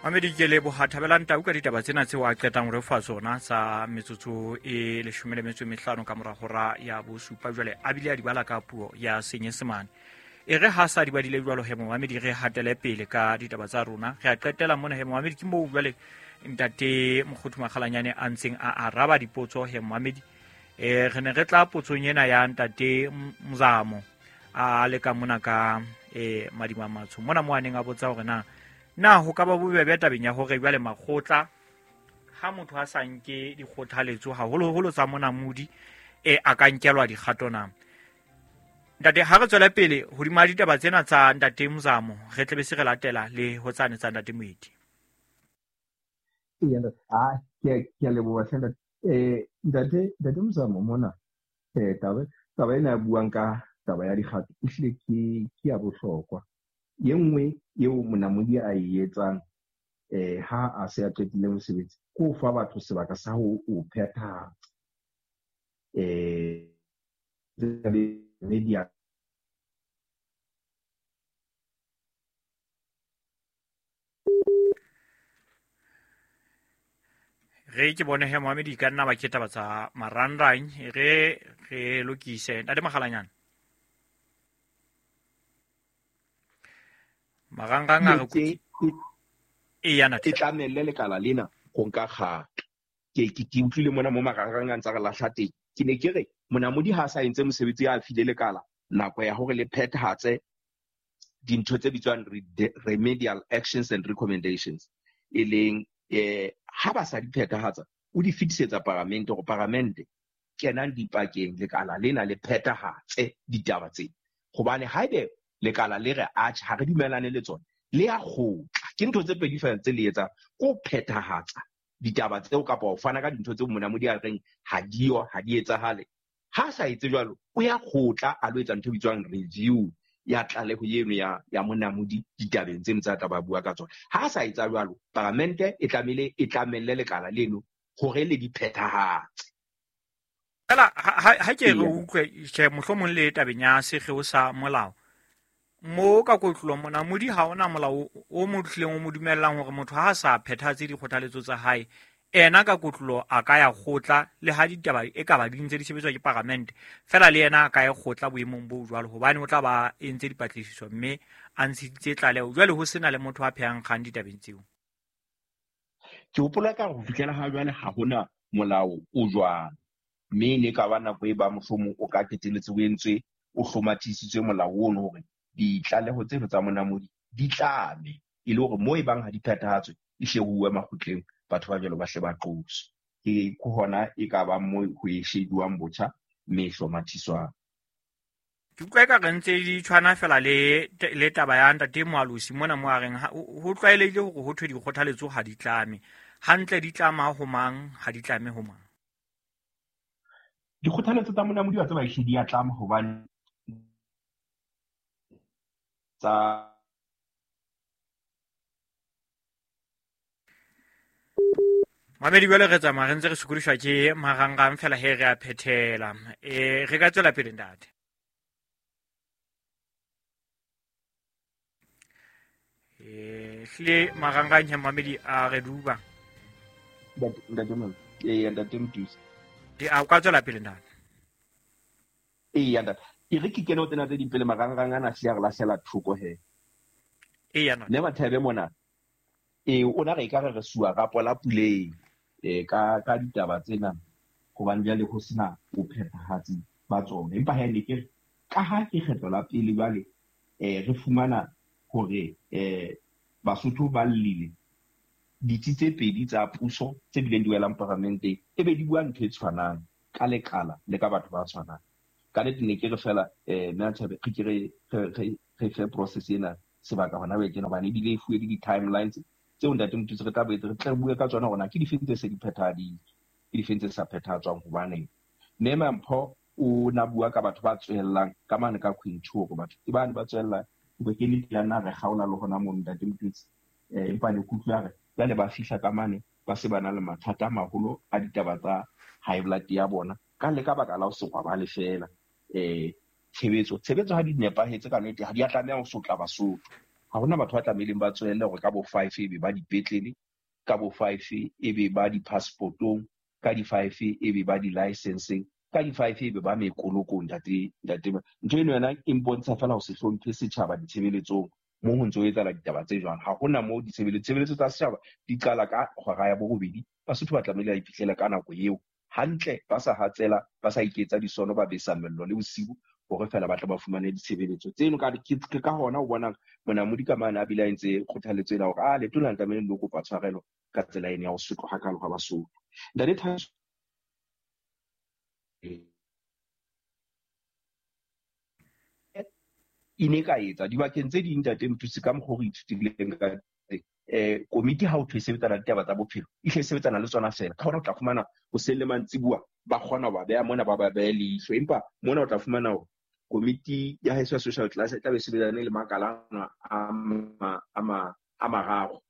Mamedi, ke leboha Thabelang Tau ka ditaba tsena tseo a qetang ho re fa tsona tsa metsotso e 15 ka mora hora ya bosupa. Jwale a bile a di bala ka puo ya Senyesemane. E re ha sa di badile jwalo he momamedi, re hatele pele ka ditaba tsa rona. Re a qetela mona he momamedi, ke moo jwale ntate Mokgothu Makgalanyane a ntseng a araba dipotso he momamedi. Re ne re tla potsong ena ya ntate Mzamo a leka mona ka Madima Matsho mona mo a neng a botsa hore na ho ka ba bobebe tabeng ya hore jwale makgotla ha motho a sa nke dikgothaletso haholoholo tsa monamodi a ka nkelwa dikgato na. Ntate, ha re tswele pele hodima ditaba tsena tsa ntate Mzamo, re tlebe se re latela le ho tsane tsa ntate Moeti. Ee, ke a leboha hle ntate. Ntate Mzamo mona, taba ena ya buang ka taba ya dikgato ehlile ke ya bohlokwa. Ye nngwe eo monamodi a e etsang ha a se a qetile mosebetsi ke ho fa batho sebaka sa ho o phethahatsa. Media Re ke bone he Mohamedi ka nna ba ke taba tsa marangrang, re re lokise ntate Makgalanyane. Marangrang a re e ya ntate. E tlamelle lekala lena ho nka kgato. Ke utlwile mona mo marangrang a ntsa re lahla teng. Ke ne ke re monamodi ha sa entse mosebetsi a file lekala nako ya hore le phethahatse dintho tse bitswang remedial actions and recommendations, e leng ha ba sa di phethahatsa o di fetisetsa paramente hore paramente kenang dipakeng lekala lena le phethahatse ditaba tsena. Hobane haebe lekala le re atjhe ha re dumelane le tsona, le ya kgotla. Ke ntho tse pedi feela tse le etsang, ke ho phethahatsa ditaba tseo kapa ho fana ka dintho tseo monamodi a reng ha diyo, ha di etsahale. Ha sa etse jwalo, o ya kgotla a lo etsa ntho e bitswang review ya tlaleho eno ya monamodi ditabeng tseno tsa tla ba bua ka tsona. Ha sa etsa jwalo, paramente e tlamehile e tlamelle lekala leno hore le di phethahatse. Fela ha ke re utlwe tjhe mohlomong le tabeng ya sekgeo sa molao mo ka kotlolo monamodi ha ona molao o mo tlileng o mo dumellang hore motho ha a sa phethahatse dikgothaletso tsa hae, ena ka kotlolo a ka ya kgotla le ha ditaba e ka ba di ntse di sebetswa ke paramente, fela le yena a ka ya kgotla boemong bo jwalo hobane o tla ba entse dipatlisiso mme a ntshitse tlaleho. Jwale ho sena le motho a phehang kgang ditabeng tseo. Ke hopola ka ho fihlela ha jwale ha hona molao o jwalo, mme ne ka ba nako e ba mohlomong o ka qetelletse o entswe o hlomathisitswe molao ono hore ditlaleho tseno tsa monamodi di tlame, e le hore moo e bang ha di phethahatswe e hle ho uwe makgotleng, batho ba jwalo ba hle ba qoswe. Ke hona e ka bang moo ho e shebuwang botjha mme e hlomathiswang. Ke utlwa eka re ntse di tshwana fela le taba ya ntate Moalosi mona mo a reng ho tlwaelehile hore ho thwe dikgothaletso ha di tlame. Hantle di tlama ho mang, ha di tlame ho mang? Dikgothaletso tsa monamodi wa tseba ehlile di a tlama hobane tsa Mamedi, jwale re tsamaya re ntse re sokodiswa ke marangrang fela he re a phethela. Re ka tswela pele ntate. Hlile marangrang he mamedi a re duba. Ntate Mtusi. Di a ka tswela pele ntate. Eya ntate. E re ke kene ho tsena tse ding pele marangrang ana hlile a re lahlela thoko he. Eya ntate. Mme Mathebe mona, o na re ekare re suwa rapo la puleng, ka ditaba tsena hobane jwale ho sena bophethahatsi ba tsona. Empa ha ne ke re, ka ha ke kgetlo la pele jwale, re fumana hore Basotho ba llile ditsi tse pedi tsa puso tse bileng di welang paramenteng, e be di bua ntho e tshwanang ka lekala le ka batho ba tshwanang. Ka nnete ne ke re fela, mme Mathebe, re ke re fe process ena sebaka hona jwale tjena, hobane ebile e fuwe le di-timelines tseo ntate Motutsi re tla boetse re tle re bue ka tsona hore na ke difeng tse se di phethahaditswe, ke difeng tse sa phethahatswang hobaneng. Mme Mampho o na bua ka batho ba tswellang ka mane ka Queen 2 hore batho ke bane ba tswellang, ke ke le ya nna re kgaola le hona mono ntate Motutsi. Empa ne ke utlwa re jwale ba fihla ka mane ba se ba na le mathata a maholo a ditaba tsa high blood ya bona ka le ka baka la ho se robale fela. Tshebetso ha di nepahetse ka nnete, ha di a tlameha ho sotla Basotho. Ha hona batho ba tlamehileng ba tswelle hore ka bo 5 ebe ba dipetlele, ka bo 5 ebe ba di-passportong, ka di-5 ebe ba di-licenseng, ka di-5 ebe ba mekolokong. Ntate, ntho eno yona e mpontsha fela ho se hlomphe setjhaba ditshebeletsong mo ho ntso etsahala ditaba tse jwang. Ha hona moo ditshebeletso tsa setjhaba di qala ka hora ya 8:00, Basotho ba tlamehile ba iphihlele ka nako eo hantle, ba sa hatsela, ba sa iketsa disono, ba besa mello le bosiu hore fela ba tle ba fumane ditshebeletso tseno. Ke ka hona o bonang Monamodi ka mane a bile a entse kgothaletso ena hore a letona le tlamehile le kopa tshwarelo ka tsela ena ya ho sotlwa hakalo ha Basotho. Ntate Thabiso, e ne ka etsa dibakeng tse ding, ntate Mthuse, ka mokgwa o re ithutileng ka teng, komiti ha o thwe e sebetsana le ditaba tsa bophelo, e hle e sebetsana le tsona fela. Ka hona o tla fumana hoseng le mantsibuwa ba kgona ho ba beha mona, ba ba behe leihlo. Empa mona o tla fumana hore komiti ya heso ya social class e tla be e sebetsane le makalana a mararo,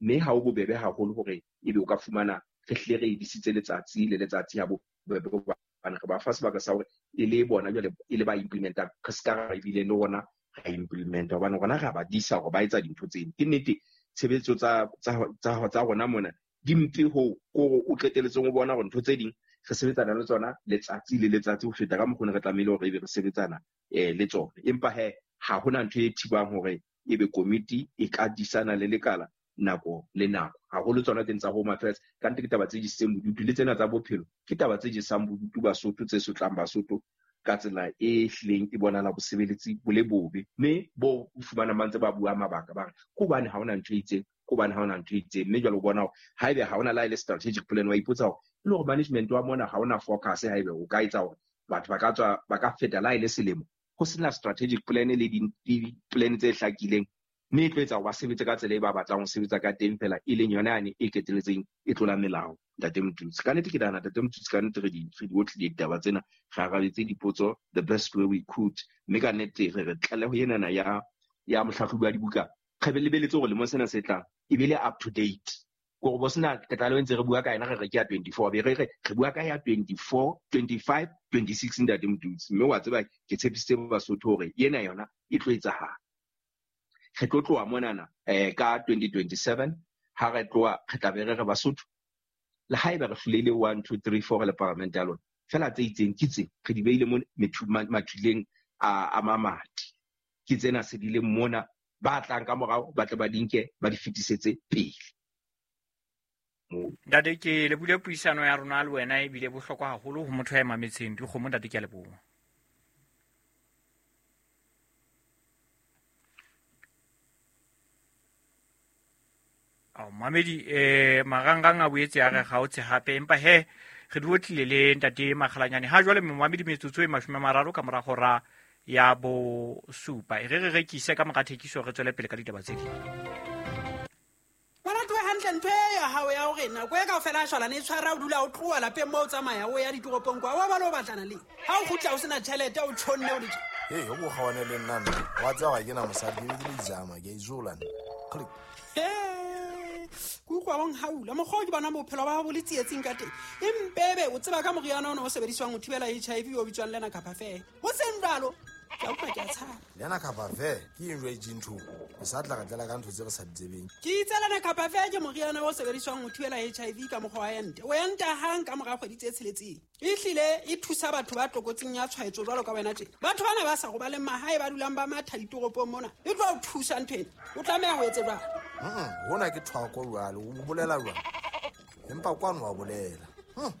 mme ha o bobebe haholo hore ebe o ka fumana re hlile re edisitse letsatsi le letsatsi ha bobebe, hobane re ba fa sebaka sa hore e le bona jwale e le ba implementang, re ska ra ebile le rona ra implementa, hobane rona re a ba disa hore ba etsa dintho tseno. Ke nnete tshebetso tsa rona mona di mpe hoo kore o qetelletseng o bona hore ntho tse ding re sebetsana le tsona letsatsi le letsatsi ho feta ka mokgwa o ne re tlamehile hore ebe re sebetsana le tsona. Empa he ha hona ntho e thibang hore ebe komiti e ka disana le lekala nako le nako, haholo tsona teng tsa Home Affairs. Ka nnete ke taba tse jesitseng bodutu, le tsena tsa bophelo ke taba tse jesang bodutu Basotho, tse sotlang Basotho ka tsela e hlileng e bonahala bosebeletsi bo le bobe. Mme bo o fumanang ba ntse ba bua mabaka, ba re ke hobane ha hona ntho e itseng, ke hobane ha hona ntho e itseng. Mme jwale o bona hore haebe ha hona le ha e le strategic plan, wa ipotsa hore e le hore management wa mona ha hona focus, haebe o ka etsa hore batho ba ka tswa, ba ka feta le ha e le selemo ho sena strategic plan le di-plan tse hlakileng, mme e tlo etsa hore ba sebetse ka tsela e ba batlang ho sebetsa ka teng fela, e leng yona yane e qetelletseng e tlola melao. Ntate Mthuse, ka nnete ke nahana, Ntate Mthuse, ka nnete re di otlile ditaba tsena, re arabetse dipotso the best way we could, mme ka nnete re re tlaleho enana ya mohlahlobi wa dibuka re lebeletse hore lemong sena se tlang e be le up to date. Kore bo sena tlaleho e ntse re bua ka yena, re re ke ya 24, be re re re bua ka ya 24, 25, 26, Ntate Mthuse. Mme wa tseba ke tshepisitse Basotho hore ena yona e tlo etsahala. Re tlo tloha monana ka 2027, ha re tloha re tla be re re Basotho, le haeba re hlolehile 1, 2, 3, 4 le paramente ya lona, fela tse itseng ke tse re di beile mo mathuleng a mamati, ke tsena se di leng mona, ba tlang ka morao ba tle ba di nke ba di fetisetse pele. Ntate, ke lebule puisano ya rona le wena ebile bohlokwa haholo ho motho ya mametseng dikgomo. Ntate, ke a leboha. Ao mamedi, marangrang a boetse a re kgaotse hape, empa he re di otlile le Ntate Makgalanyane. Ha jwale momamedi, metsotso e 30 ka mora hora ya 7. E re re rekise ka mora thekiso, re tswele pele ka ditaba tse ding. Ngwana tlohe hantle ntho e ya hao ya hore nako e kaofela a shwalane e tshwara, o dula o tloha lapeng moo o tsamaya o ya ditoropong kwa, wa ba le o batlana le ha o kgutla o sena tjhelete, o tjhonne o le tje. Hei, o ko kgawane le nna nna. Wa tseba ga ke na mosadi, ke be ke le izama, ke a izola nna. Click. He, ke utlwa bong haula. Mokgwa o ke bona bophelo ba hao bo le tsietsing ka teng. Empebe o tseba ka moriana ona o sebediswang ho thibela HIV o bitswang Lenacapavir. Ho seng jwalo, ke a utlwa ke a tshaba. Lenacapavir ke eng jwale ntho? O sa tla re tlela ka ntho tse re sa di tsebeng. Ke itse Lenacapavir ke moriana o sebediswang ho thibela HIV ka mokgwa wa ente. O enta hang ka mora kgwedi tse 6. Ehlile e thusa batho ba tlokotsing ya tshwaetso jwalo ka wena tje. Batho bana ba sa robaleng mahae ba dulang ba matha ditoropong mona, e tlo o thusa ntho ena. O tlameha ho etse jwang? Hona ke thwako jwale, o bolela jwang? Empa kwano wa bolela. E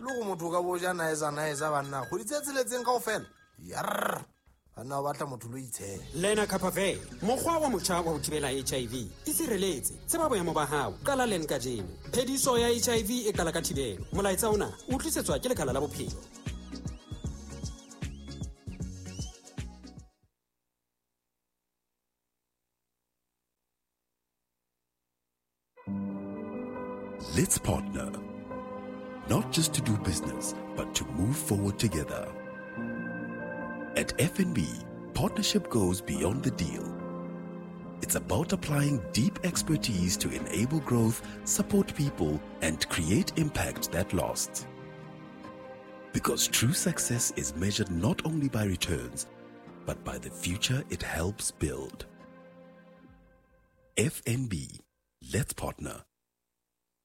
le hore motho o ka bo ja naeza naeza banna, kgwedi tse 6 kaofela. Yarr. Banna ba batla motho lo itshela. Lenacapavir, mokgwa wa motjha wa ho thibela HIV. Itshireletse, tseba boemo ba hao, qala len kajeno. Phediso ya HIV e qala ka thibelo. Molaetsa ona o tlisetswa ke Lekala la Bophelo. Let's partner, not just to do business, but to move forward together. At FNB, partnership goes beyond the deal. It's about applying deep expertise to enable growth, support people, and create impact that lasts. Because true success is measured not only by returns, but by the future it helps build. FNB. Let's partner.